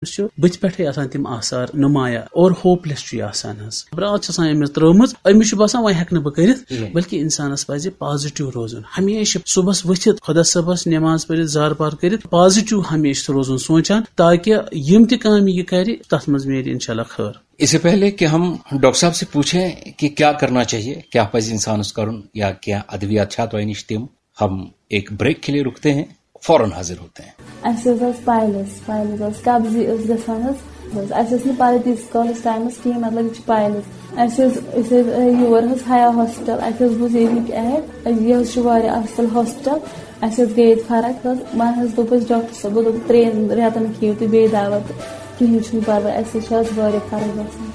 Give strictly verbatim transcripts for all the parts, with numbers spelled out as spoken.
أمِس چھُ بٕتھِ پٮ۪ٹھٕے آسان تِم آثار نمایاں اور ہوپلیس چھُ یہِ آسان حظ۔ برٛاتھ چھِ آسان أمِس ترٲومٕژ، أمِس چھُ باسان وۄنۍ ہٮ۪کہٕ نہٕ بہٕ کٔرِتھ، کِہیٖنۍ۔ بلکہِ اِنسانَس پَزِ پازِٹِو روزُن۔ ہمیشہِ صُبحَس ؤتھِتھ خۄدا صٲبَس نٮ۪ماز پٔرِتھ، زارٕ پار کٔرِتھ پازِٹِو ہمیشہِ روزُن سونٛچان، تاکہِ یِم تہِ کامہِ یہِ کَرِ، تَتھ منٛز میلہِ اِنشاء اللہ خٲر۔ اس سے پہلے کہ ہم ڈاکٹر صاحب سے پوچھیں کہ کیا کرنا چاہیے، کیا پزِ انسانس کرُن یا کینٛہہ ادویات چھا تۄہہِ نِش تِم؟ ہم ایک بریک کے لیے رکتے ہیں، فوراً حاضر ہوتے ہیں۔ اَسہِ حظ ٲس پایلٕز، پایلٕز ٲس قبضی ٲس گژھان حظ۔ بس، اَسہِ ٲس نہٕ پَے تیٖتِس کالَس ٹایمَس کِہیٖنۍ، مطلب، یہِ چھِ پایلٕز۔ اَسہِ حظ، أسۍ حظ آے یور حظ حیا ہاسپِٹَل، اَسہِ حظ بوٗز ییٚمِکۍ ایڈ، یہِ حظ چھُ واریاہ اَصٕل ہاسپِٹَل۔ اَسہِ حظ گٔے ییٚتہِ فرق حظ۔ وۄنۍ حظ دوٚپ اَسہِ ڈاکٹر صٲبو، دوٚپ، ترٛٮ۪ن رٮ۪تَن کھیٚیِو تُہۍ بیٚیہِ دوا تہٕ کِہیٖنۍ چھُنہٕ پَرواے، اَسہِ حظ چھِ آز واریاہ فرق گژھان۔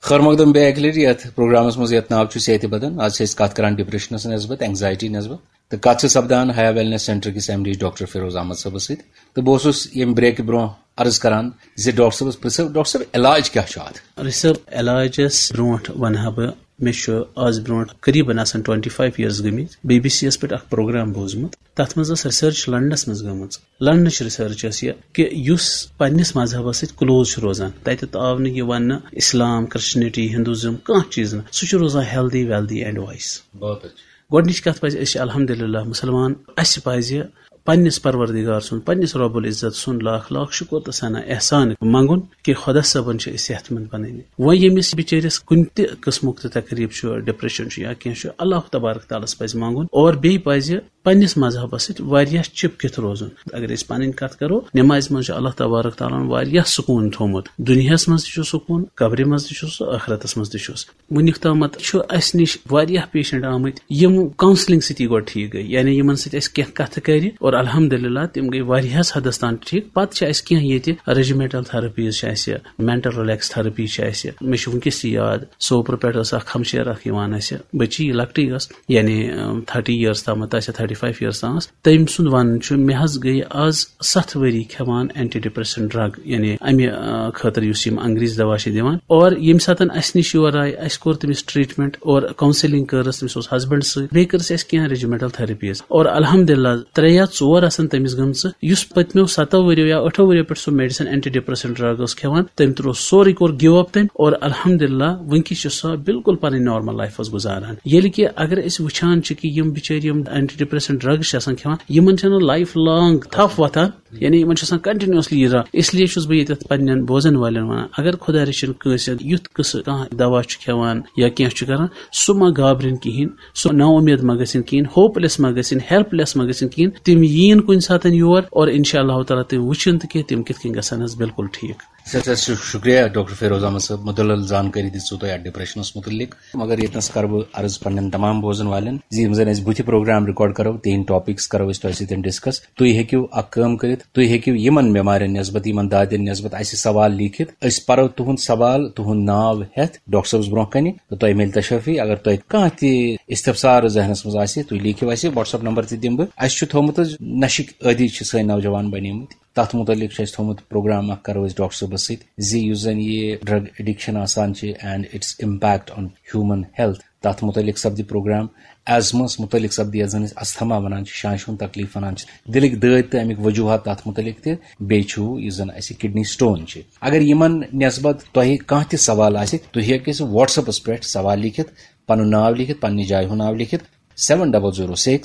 خٲر مقدم بیٚیہِ اَکہِ لَٹہِ یَتھ پروگرامَس منٛز، یَتھ ناو چھُ صحتِ بدن۔ آز چھِ أسۍ کَتھ کَران ڈپریشنَس نٮ۪سبت، اینگزائٹی نٮ۪سبت۔ تہٕ کَتھ چھِ سَپدان حیا ویلنس سینٹر کِس M D doctor Firoz Ahmad صٲبَس سۭتۍ۔ تہٕ بہٕ اوسُس ییٚمہِ بریکہِ برونٛہہ عرض کران زِ ڈاکٹر صٲبَس پرٛژھو، ڈاکٹر صٲب، علاج کیٛاہ چھُ اَتھ؟ ڈاکٹر صٲب، علاجَس برونٛٹھ وَنہٕ ہا بہٕ، مےٚ چھُ آز برونٛٹھ قریباً آسان ٹُوَنٹی فایِو ییٲرٕس گٔمٕتۍ، بی بی سی یَس پٮ۪ٹھ اَکھ پروگرام بوٗزمُت۔ تَتھ منٛز ٲس ریسرچ لندنَس منٛز گٔمٕژ۔ لندنٕچ ریسرچ ٲس یہِ کہِ یُس پننِس مذہبَس سۭتۍ کلوز چھُ روزان، تَتہِ آو نہٕ یہِ وَننہٕ اِسلام، کرسچنٹی، ہندوزم، کانٛہہ چیٖز نہٕ۔ سُہ چھُ روزان ہیلدی، ویلدی اینڈ وایِس۔ بہت اچھا۔ گۄڈٕنِچ کَتھ پَزِ، أسۍ چھِ الحمدللہ مُسلمان، اَسہِ پَزِ پننِس پروردگار سُنٛد، پننِس رب العزت سُنٛد لاکھ لاکھ شُکُر تہٕ ثنا احسان منٛگُن کہِ خۄدا صٲبَن چھِ أسۍ صحت مند بنٲومٕتۍ۔ وۄنۍ ییٚمِس بِچٲرِس کُنہِ تہِ قٕسمُک تہِ تکلیٖف چھُ، ڈپریشن چھُ یا کینٛہہ چھُ، اللہ تبارک تعالیٰ ہَس پَزِ منٛگُن اور بیٚیہِ پَزِ پننِس مذہبَس سۭتۍ واریاہ چِپکِتھ روزُن۔ اگر أسۍ پنٕنۍ کَتھ کَرو، نٮ۪مازِ منٛز چھُ اللہ تبارک تعالیٰ ہَن واریاہ سکوٗن تھوٚومُت۔ دُنیاہَس منٛز تہِ چھُ سکوٗن، قبرِ منٛز تہِ چھُ سُہ، ٲخرتَس منٛز تہِ چھُس۔ وٕنیُک تامَتھ چھُ اَسہِ نِش واریاہ پیشنٹ آمٕتۍ، یِم کاونسلنگ سۭتی گۄڈٕ ٹھیٖک گٔے، یعنی یِمن سۭتۍ اَسہِ کینٛہہ کَتھٕ کَرِ اور الحمدللہ تِم گٔے واریاہَس حدس تام ٹھیٖک۔ پَتہٕ چھِ اَسہِ کینٛہہ ییٚتہِ ریجیمنٹل تھراپیز چھِ اَسہِ، مینٹل ریلیکس تھراپی چھِ اَسہِ۔ مےٚ چھُ وٕنکیٚس تہِ یاد، سوپرٕ پٮ۪ٹھ ٲس اکھ ہمشیر اکھ یِوان اَسہِ، بٔچی لۄکٹٕے ٲس، یعنی، ٲم، تھرٹی ییٲرٕس تامَتھ آسہِ، تھرٹی فایِو ییٲرٕس تام ٲس۔ تٔمۍ سُنٛد وَنُن چھُ، مےٚ حظ گٔے آز ستھ ؤری کھٮ۪وان اینٹی ڈپریسنٹ ڈرگ، یعنی اَمہِ، آ، خٲطرٕ یُس یِم انگریز دوا چھِ دِوان۔ اور ییٚمہِ ساتَن اَسہِ نِش یور آیہِ، اَسہِ کوٚر تٔمِس ٹریٹمنٹ اور کاونسلنگ کٔرٕس، تٔمِس اوس ہسبنڈ سۭتۍ، بیٚیہِ کٔرٕس اَسہِ کینٛہہ ریجیمنٹل تھراپیز۔ اور الحمدللہ، ترٛےٚ یا ژور آسَن تٔمِس گٔمژٕ۔ یُس پٔتمیو ستو ؤریو یا ٲٹھو ؤریو پٮ۪ٹھ سُہ میڈیسن، اینٹی ڈپریسنٹ ڈرگ اوس کھٮ۪وان، تٔمۍ ترٛوو سورُے، کوٚر گِو اپ تٔمۍ، اور الحمدللہ وٕنکیٚس چھِ سۄ بالکل پنٕنۍ نارمل لایف حظ گُزاران۔ ییٚلہِ کہِ اگر أسۍ وٕچھان چھِ کہِ یِم بِچٲرۍ یِم اینٹی ڈپریسنٹ ڈرگز چھِ آسان کھٮ۪وان، یِمن چھَنہٕ لایف لانگ تھپھ وۄتھان، یعنی یِمن چھُ آسان کنٹینیوسلی یہِ ڈرگ۔ اس لیے چھُس بہٕ ییٚتٮ۪تھ پننٮ۪ن بوزن والٮ۪ن ونان، اگر خۄدا رٔچھِن کٲنٛسہِ یُتھ قٕصہٕ کانٛہہ دوا چھُ کھٮ۪وان یا کینٛہہ چھُ کران، سُہ ما گابرِن کِہیٖنۍ، سُہ نا اُمید ما گژھن کِہیٖنۍ، ہوپلیس ما گژھن، ہیلپلیس ما گژھن کِہیٖنۍ۔ تِم یِیِن کُنہِ ساتَن یور اور انشاء اللہ تعالیٰ تِم وٕچھن تہٕ کہِ تِم کِتھ کٔنۍ گژھن حظ بالکل ٹھیٖک۔ سٮ۪ٹھاہ سٮ۪ٹھاہ شُکریہ ڈاکٹر فیروز احمد صٲب، مُدلل زانکٲری دِژوٕ تۄہہِ اَتھ ڈپریشنس مُتعلق۔ مگر ییٚتنَس کَرٕ بہٕ عرض پننٮ۪ن تمام بوزن والٮ۪ن زِ یِم زَن أسۍ بٕتھِ پروگرام ریکارڈ کَرو، تِہِنٛدۍ ٹاپکس کَرو أسۍ تۄہہِ سۭتۍ ڈسکس۔ تُہۍ ہیٚکِو اکھ کٲم کٔرِتھ، تُہۍ ہیٚکِو یِمن بٮ۪مارٮ۪ن نٮ۪سبت، یِمن دادٮ۪ن نٮ۪سبت اَسہِ سوال لیکھِتھ۔ أسۍ پَرو تُہُنٛد سوال، تُہُنٛد ناو ہٮ۪تھ ڈاکٹر صٲبس برونٛہہ کنہِ، تہٕ تۄہہِ میلہِ تشفی۔ اگر تۄہہِ کانٛہہ تہِ استفسار ذہنس منٛز آسہِ، تُہۍ لیکھِو اَسہِ، WhatsApp نمبر تہِ دِمہٕ بہٕ۔ اَسہِ چھُ تھوٚومُت حظ نشٕکۍ عٲدی چھِ سٲنۍ نوجوان بنیمٕتۍ۔ تَتھ مُتعلِق چھُ اَسہِ تھوٚومُت پروگرام اَکھ، کَرو أسۍ ڈاکٹر صٲبَس سۭتۍ زِ یُس زَن یہِ drug addiction آسان چھِ and its impact on human health، تَتھ مُتعلِق سَپدِ پروگرام۔ ایزمَس مُتعلِق سَپدِ، یَتھ زَن أسۍ اَستھما وَنان چھِ، شانٛشہِ ہُنٛد تکلیٖف وَنان چھِ، دِلٕکۍ دٲدۍ تہٕ اَمِکۍ وجوٗہات تَتھ مُتعلِق تہِ، بیٚیہِ چھُ یُس زَن اَسہِ کڈنی سٹون چھِ۔ اگر یِمَن نٮ۪سبت تۄہہِ کانٛہہ تہِ سوال آسہِ، تُہۍ ہیٚکِو اَسہِ WhatsApp-س پٮ۪ٹھ سوال لیکھِتھ، پَنُن ناو لیکھِتھ، پنٛنہِ جایہِ ہُنٛد ناو لیکھِتھ، seven double zero six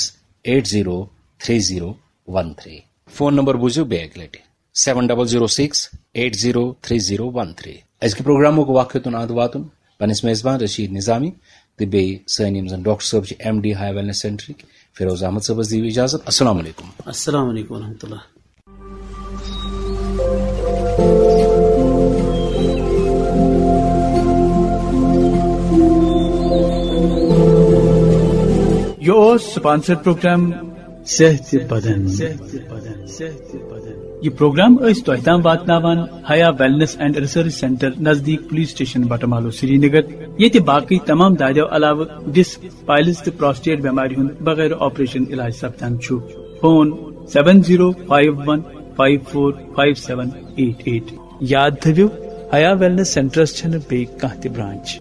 eight zero three zero one three۔ Phone number بوٗزِو بیٚیہِ اَکہِ لَٹہِ، seven double zero six eight zero three zero one three۔ أزکہِ پروگرامُک وقت ہیوٚتُن اَنٛد واتُن پنٛنِس میزبان رشیٖد نظامی تہٕ بیٚیہِ سٲنۍ یِم زَن ڈاکٹر صٲب چھِ ایم ڈی ہاے ویلنس سینٹرٕکۍ، فیروز احمد صٲبَس دِیِو اِجازت۔ السلام علیکم۔ السلام علیکم ورحمۃ اللہ۔ یہِ اوس سپانسر پروگرام صحت بدن۔ یہِ پروگرام ٲسۍ تۄہہِ تام واتناوان حیا ویلنس اینڈ ریسرچ سینٹر نزدیٖک پولیس سٹیشن بٹہٕ مالو سرینگر، ییٚتہِ باقٕے تمام دادیو علاوٕ ڈسک، پایلز تہٕ پراسٹیٹ بٮ۪مارِ ہُنٛد بغٲر آپریشن علاج سپدان چھُ۔ Phone seven zero five one five four five seven eight eight۔ یاد تھٲوِو، حیا ویلنس سینٹرس چھنہٕ بیٚیہِ کانٛہہ تہِ برانچ۔